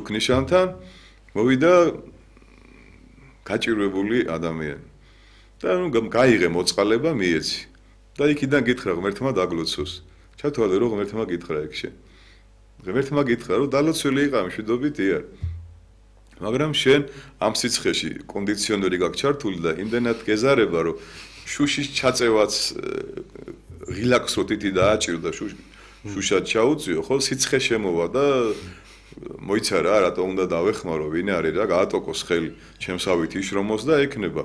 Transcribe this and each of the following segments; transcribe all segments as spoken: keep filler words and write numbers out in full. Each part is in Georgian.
მართლ ნიშანთან მოვიდა გაჭირვებული ადამიანი. და ნუ გაიღე მოწყალება მიეცი. და იქიდან გითხრა ღმერთმა დაგლოცოს. ჩათვალე რომ ღმერთმა გითხრა იქ შენ. ღმერთმა გითხრა რომ დალოცვილი იყავ მშვიდობით იარ. მაგრამ შენ ამ სიცხეში კონდიციონერი გაქვს ჩართული და იმდენად გეზარება რომ შუშის ჩაწევაც ღილაკს რო თითი დააჭირდა შუშად ჩაუწიო ხო სიცხე შემოვა და მოიცა რა რატო უნდა დავეხმარო ვინ არის რა გაატოკოს ხელი ჩემსავით იშრომოს და ეკნება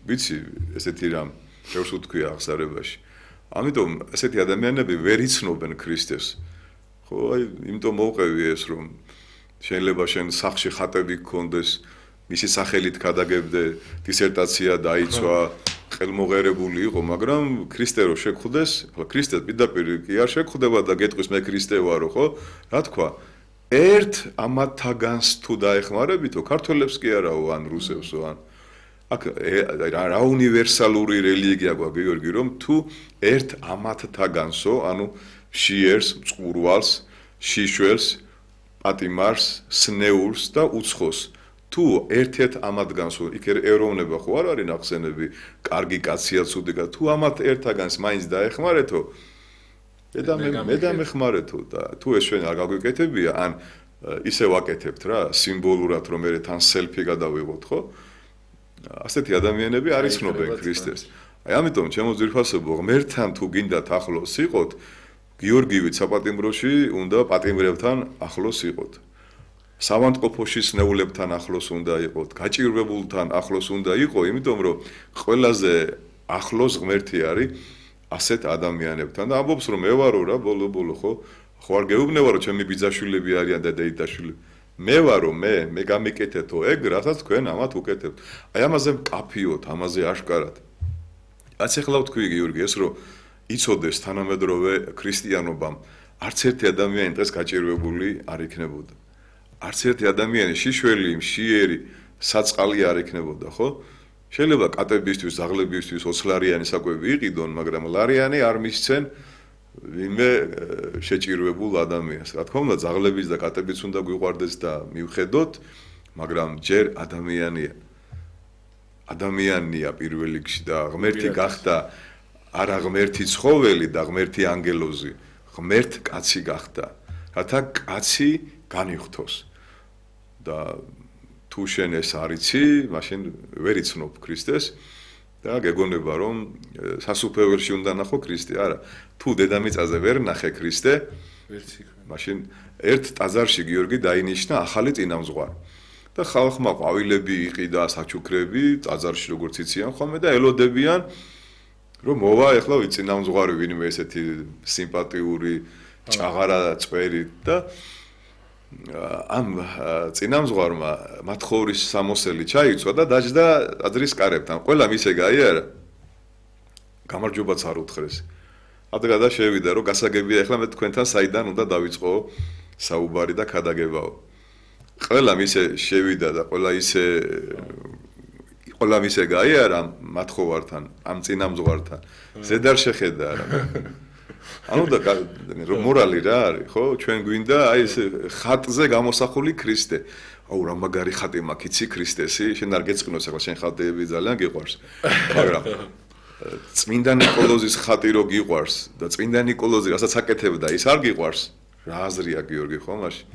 ვიცი ესეთი რამ ბევრს უთქვია აღსარებაში ამიტომ ესეთი ადამიანები ვერ იცნობენ ქრისტეს ხო აი იმიტომ მოვყევი ეს რომ შეიძლება შენ სახში ხატები გქონდეს მისი სახელით გადაგებდე დისერტაცია დაიცვა ხელმოღერებული იყო მაგრამ ქრისტე რო შეგხვდეს ხო ქრისტე პირდაპირ კი არ შეგხვდება და გეტყვის მე ქრისტე ვარო ხო რა თქვა ერთ ამათაგანს თუ დაეხმარებითო ქართველებს კი არაო ან რუსევსო ან აქ რა უნივერსალური რელიგია გვაქვს გიორგი რომ თუ ერთ ამათთაგანსო ანუ შიერს მწყურვალს შიშველს პატიმარს სნეულს და უცხოს თუ ერთ-ერთ ამათგანსო იქ ეროვნება ხო არ არის ნახსენები კარგი კაცია ცუდი კაცია თუ ამათ ერთაგანს მაინც დაეხმარეთო და მე მე დამეხმარეთო და თუ ეს ჩვენ არ გაგვიკეთებია ან ისე ვაკეთებთ რა სიმბოლურად რომ მე თან სელფი გადავიღოთ ხო ასეთი ადამიანები არ იცნობენ ქრისტეს აი ამიტომ ჩემო ძვირფასებო ღმერთთან თუ გინდათ ახლოს იყოთ გიორგივით საპატიმროში უნდა პატიმრებთან ახლოს იყოთ სავანტყოფოში სნეულებთან ახლოს უნდა იყოთ გაჭირვებულთან ახლოს უნდა იყო იმიტომ რომ ყველაზე ახლოს ღმერთი არის ასეთ ადამიანებთან და ამბობს რომ მე ვარო რა ბოლო ბოლო ხო ხო არ გეუბნება რომ ჩემი ბიძაშვილები არიან და დეიდაშვილები მე ვარო მე მე გამიკეთეთო ეგ რასაც თქვენ ამათ უკეთებთ აი ამაზე მკაფიოთ ამაზე აშკარად რაც ახლა ვთქვი გიორგი ეს რომ იცოდეს თანამედროვე ქრისტიანობამ არც ერთი ადამიანი დღეს გაჭირვებული არ იქნებოდა არც ერთი ადამიანი შიშველი მშიერი საწყალი არ იქნებოდა ხო შეიძლება კატებისთვის ზაღლებისთვის ოცლარიანი საკვები იყიდონ მაგრამ ლარიანი არ მისცენ ვინმე შეჭირვებულ ადამიანს რა თქმა უნდა ზაღლების და კატებიც უნდა გვიყვარდეს და მივხედოთ მაგრამ ჯერ ადამიანია ადამიანია პირველ რიგში და ღმერთი გახდა არა ღმერთი ცხოველი და ღმერთი ანგელოზი ღმერთ კაცი გახდა რათა კაცი განიღვთოს და თუ შენ ეს არიცი მაშინ ვერ იცნობ ქრისტეს და გეგონება რომ სასუფეველში უნდა ნახო ქრისტე არა თუ დედამიწაზე ვერ ნახე ქრისტე ვერცი მაშინ ერთ ტაძარში გიორგი დაინიშნა ახალი წინამძღვარი და ხალხმა ყვავილები იყიდა საჩუქრები ტაძარში როგორც იციან ხოლმე და ელოდებიან რომ მოვა ეხლა ვიწინამძღვარი ვინმე ესეთი სიმპათიური ჭაღარა წვერი და ამ წინამძღვარმა მათხოვრის სამოსელი ჩაიცვა და დაჯდა ტაძრის კარებთან. ყველა მისე გაიარა. გამარჯობაც არ უთხრეს. ადგა და შევიდა რომ გასაგებია ეხლა მე თქვენთან საიდან უნდა დავიწყო საუბარი და ქადაგებაო. ყველა მისე შევიდა და ყველა ისე ყველა მისე გაიარა მათხოვართან, ამ წინამძღვართან. ზედარ შეხედა რა. ანუ და მორალი რა არის, ხო? ჩვენ გვინდა აი ეს ხატზე გამოსახული ქრისტე. აუ რა მაგარი ხატი მაქვს, იცი ქრისტესი? შენ არ გეწყინოს ახლა შენ ხატები ძალიან გიყვარს. მაგრამ წმინდა ნიკოლოზის ხატი რო გიყვარს და წმინდა ნიკოლოზი რასაც აკეთებდა, ის არ გიყვარს. რა აზრია გიორგი ხო მაშინ?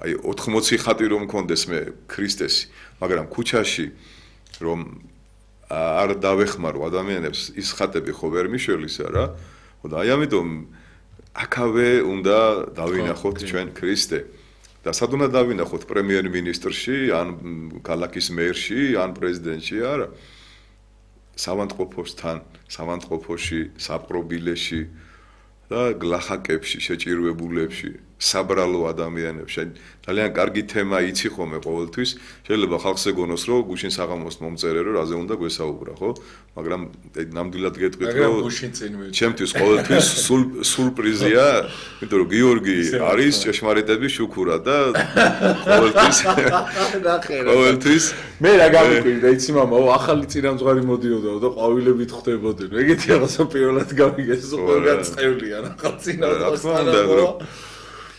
აი ოთხმოცი ხატი რომ მქონდეს მე ქრისტესი, მაგრამ ქუჩაში რომ არ დავეხმარო ადამიანებს ის ხატები ხო ვერ მიშველისა რა? და აი ამიტომ აქავე უნდა დავინახოთ ჩვენ ქრისტე და სად უნდა დავინახოთ პრემიერ-მინისტრში ან ქალაქის მერში ან პრეზიდენტში არა სავანტყოფოსთან სავანტყოფოში საპყრობილეში და გლახაკებში შეჭირვებულებში საბრალო ადამიანებში ძალიან კარგი თემა იცი ხოლმე ყოველთვის შეიძლება ხალხს ეგონოს რომ გუშინ საღამოს მომწერე რომ რაზე უნდა გვესაუბრა ხო მაგრამ ნამდვილად გეტყვით რომ ჩემთვის ყოველთვის სურპრიზია იმიტომ რომ გიორგი არის ჭეშმარიტების შუქურა და ყოველთვის ყოველთვის მე რა გამიკვირდა იცი მამაო ახალი წინამძღვარი მოდიოდაო და ყვავილებით ხდებოდნენ ეგეთი რაღაცა პირველად გამიგეს ყველგან წევლიან ახალ წინამძღვარს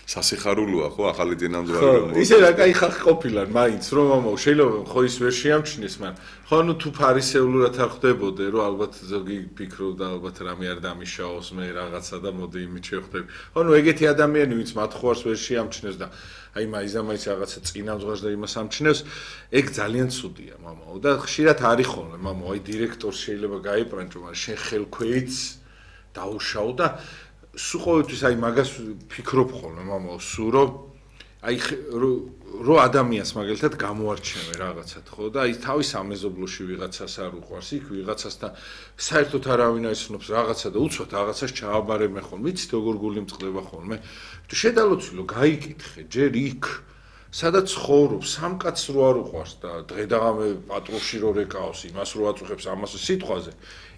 სასიხარულოა ხო ახალი წინამძღვარი ხო, რომ ისე რა кай ხალხი ყოფილან, მაინც რომ ამო შეიძლება ხო ის ვერ შეამჩნიეს, მაგრამ ხო ნუ თუ ფარისეულურად არ ხდებოდე, რომ ალბათ ზოგი ფიქრობდა ალბათ რამე არ დამიშაოს მე რაღაცა და მოდი იმით შევხვდები. ხო ნუ ეგეთი ადამიანი ვინც მათ ხوارს ვერ შეამჩნევს და აი მაიზამაიც რაღაცა წინამძღვარს და იმას ამჩნევს, ეგ ძალიან ცუდია, მამაო და ხშირად არის ხოლმე, მამაო, აი დირექტორს შეიძლება გაიპრანჭო, მაგრამ შენ ხელქვეითს დაუშაო და სულ ყოველთვის აი მაგას ფიქრობ ხოლმე, მამაო, სულ რომ აი რო ადამიანს მაგალითად გამოარჩევე რაღაცად, ხო და აი თავის ამეზობლოში ვიღაცას არ უყვარს, იქ ვიღაცასთან საერთოდ არავინ აიცნობს რაღაცა და უცბად რაღაცას ჩააბარებენ ხოლმე, იცით როგორ გული მწყდება ხოლმე. თუ შედალოცილო, გაიკითხე, ჯერ იქ სადაც ცხოვრობს, სამ კაცს რო არ უყვარს და დღე და ღამე პატრულში რო რეკავს, იმას რო აწუხებს ამას სიტყვაზე.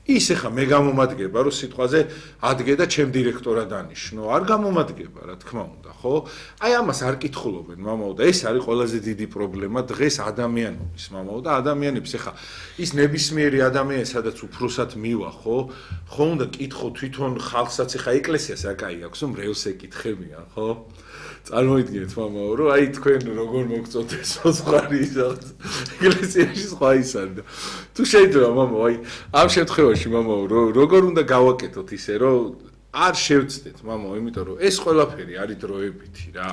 ის ეხა მე გამომადგება, რომ სიტყვაზე ადგე და ჩემ დირექტორად ანიშნო. არ გამომადგება, რა თქმა უნდა, ხო? აი ამას არ კითხულობენ, მამაო, და ეს არის ყველაზე დიდი პრობლემა დღეს ადამიანობის, მამაო, და ადამიანებს ეხა ის ნებისმიერი ადამიანი, სადაც უფროსად მივა, ხო? ხო უნდა კითხო თვითონ ხალხსაც, ეხა ეკლესიას რა კაი აქვს, რომ რეოს ეკითხებიან, ხო? წარმოიდგინეთ, მამაო, რომ აი თქვენ როგორ მოგწოდეთ სოცხარი ისახ ეკლესიაში სხვა ის არის და თუ შეიძლება, მამაო, აი ამ შემთხვევაში, მამაო, როგორ უნდა გავაკეთოთ ისე, რომ არ შევცდეთ, მამაო, იმიტომ რომ ეს ყველაფერი არის დროებითი რა.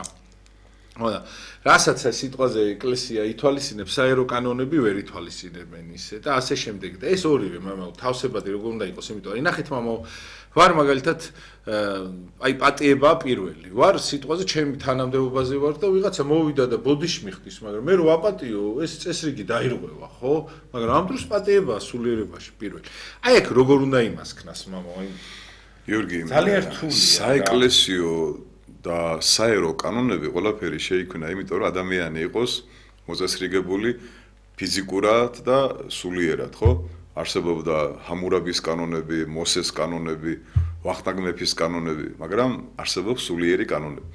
ხოდა, რასაც ეს სიტყვაზე ეკლესია ითვალისწინებს, საერო კანონები ვერ ითვალისწინებენ ისე და ასე შემდეგ და ეს ორივე, მამაო, თავსებადი როგორ უნდა იყოს, იმიტომ რომ ნახეთ, მამაო, ვარ მაგალითად აი პატიება პირველი. ვარ სიტყვაზე ჩემი თანამდებობაზე ვარ და ვიღაცა მოვიდა და ბოდიში მიხდის, მაგრამ მე რო აპატიო, ეს წესრიგი დაირღვევა, ხო? მაგრამ ამ დროს პატიებაა სულიერებაში პირველი. აი აქ როგორ უნდა იმასქნას, მამაო, აი გიორგი, ძალიან რთულია. საეკლესიო და საერო კანონები ყველაფერი შეიქმნა, იმიტომ რომ ადამიანი იყოს მოწესრიგებული ფიზიკურად და სულიერად, ხო? არსებობდა ჰამურაბის კანონები, მოსეს კანონები, ვახტანგ მეფის კანონები, მაგრამ არსებობს სულიერი კანონები.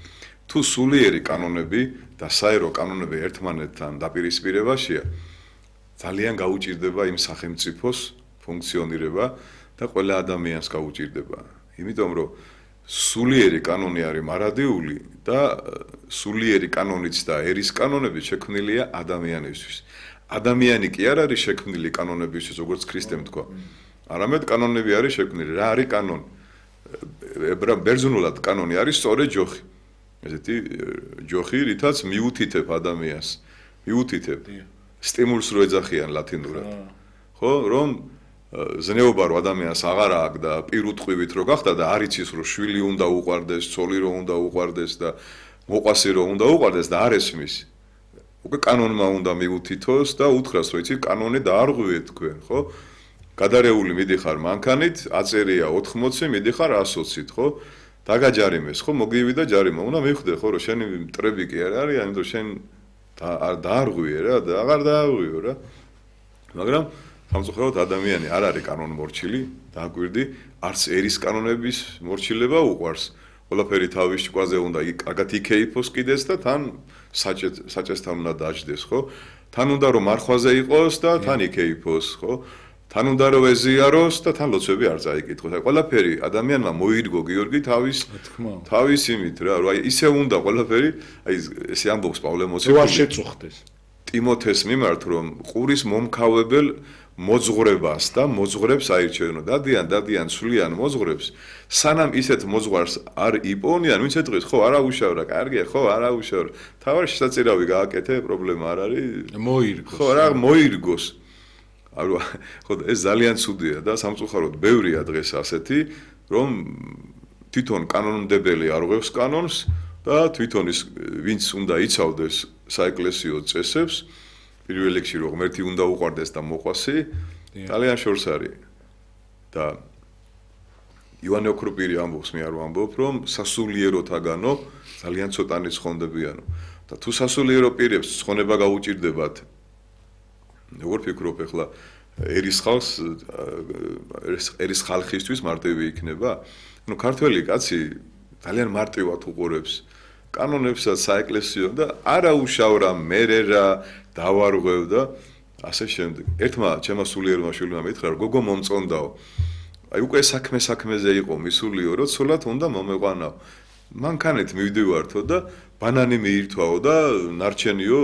თუ სულიერი კანონები და საერო კანონები ერთმანეთთან დაპირისპირებაშია, ძალიან გაუჭირდება იმ სახელმწიფოს ფუნქციონირება და ყველა ადამიანს გაუჭირდება. იმიტომ რომ სულიერი კანონი არის მარადიული და სულიერი კანონიც და ერის კანონები შექმნილია ადამიანისთვის. ადამიანი კი არ არის შექმნილი კანონებისთვის, როგორც ქრისტემ თქვა. არამედ კანონები არის შექმნილი. რა არის კანონი? ბერძნულად კანონი არის სწორი ჯოხი. ესეთი ჯოხი, რითაც მიუთითებ ადამიანს. მიუთითებ. სტიმულს რო ეძახიან ლათინურად. ხო, რომ ზნეობა რო ადამიანს აღარ აქვს და პირუტყვივით რო გახდა და არ იცის რომ შვილი უნდა უყვარდეს, ცოლი რო უნდა უყვარდეს და მოყვასი რო უნდა უყვარდეს და არ ესმის. უკვე კანონმა უნდა მიუთითოს და უთხრას, რომ იცი, კანონი დაარღვიეთ თქვენ, ხო? გადარეული მიდიხარ მანქანით, აწერია ოთხმოცი, მიდიხარ ასოცით, ხო? დაგაჯარიმეს, ხო? მოგივი და ჯარიმა. უნდა მივხვდე, ხო, რომ შენი მტრები კი არ არის, ამიტომ შენ არ დაარღვიე რა, და აღარ დაარღვიო რა. მაგრამ სამწუხაროდ ადამიანი არ არის კანონმორჩილი, დააკვირდი, არც ერის კანონების მორჩილება უყვარს. ყველაფერი თავის ჭკუაზე უნდა კარგად იქეიფოს კიდეც და თან საჭესთან უნდა დაждდეს, ხო? თან უნდა რომ მარხვაზე იყოს და თან იქეიფოს, ხო? თან უნდა რომ ეზიაროს და თან ლოცვები არ წაიკითხოს. აი ყველაფერი ადამიანმა მოირგო გიორგი თავის თავის იმით რა, რომ აი ისე უნდა ყველაფერი, აი ესე ამბობს პავლე მოციქული. რო არ შეწუხდეს. ტიმოთეს მიმართ რომ ყურის მომქავებელ მოძღვრებას და მოძღვრებს აირჩევენო. დადიან, დადიან სვლიან მოძღვრებს. სანამ ისეთ მოძღვარს არ იპოვნიან, ვინც ეთყვის, ხო, არა უშავრა, კარგია, ხო, არა უშავრა. თავარ შესაძირავი გააკეთე, პრობლემა არ არის. მოირგოს. ხო, რა, მოირგოს. ანუ ხო, ეს ძალიან ცუდია და სამწუხაროდ ბევრია დღეს ასეთი, რომ თვითონ კანონმდებელი არღვევს კანონს და თვითონ ის ვინც უნდა იცავდეს საეკლესიო წესებს, პირველ რიგში რომ ღმერთი უნდა უყვარდეს და მოყვასი, ძალიან შორს არის. და ივანე ოქროპირი ამბობს, მე არ ვამბობ, რომ სასულიეროთაგანო ძალიან ცოტანი ცხონდებიანო. და თუ სასულიერო პირებს ცხონება გაუჭირდებათ, როგორ ფიქრობ ახლა ერის ხალხს ერის ხალხისთვის მარტივი იქნება? ну ქართველი კაცი ძალიან მარტივად უყურებს კანონებსაც საეკლესიო და არა უშავრა მერე რა დავარღვევ და ასე შემდეგ. ერთმა ჩემმა სულიერმა შვილმა მითხრა, გოგო მომწონდაო. აი უკვე საქმე საქმეზე იყო მისულიო, რომ ცოლად უნდა მომეყვანაო. მანქანით მივდივართო და ბანანი მიირთვაო და ნარჩენიო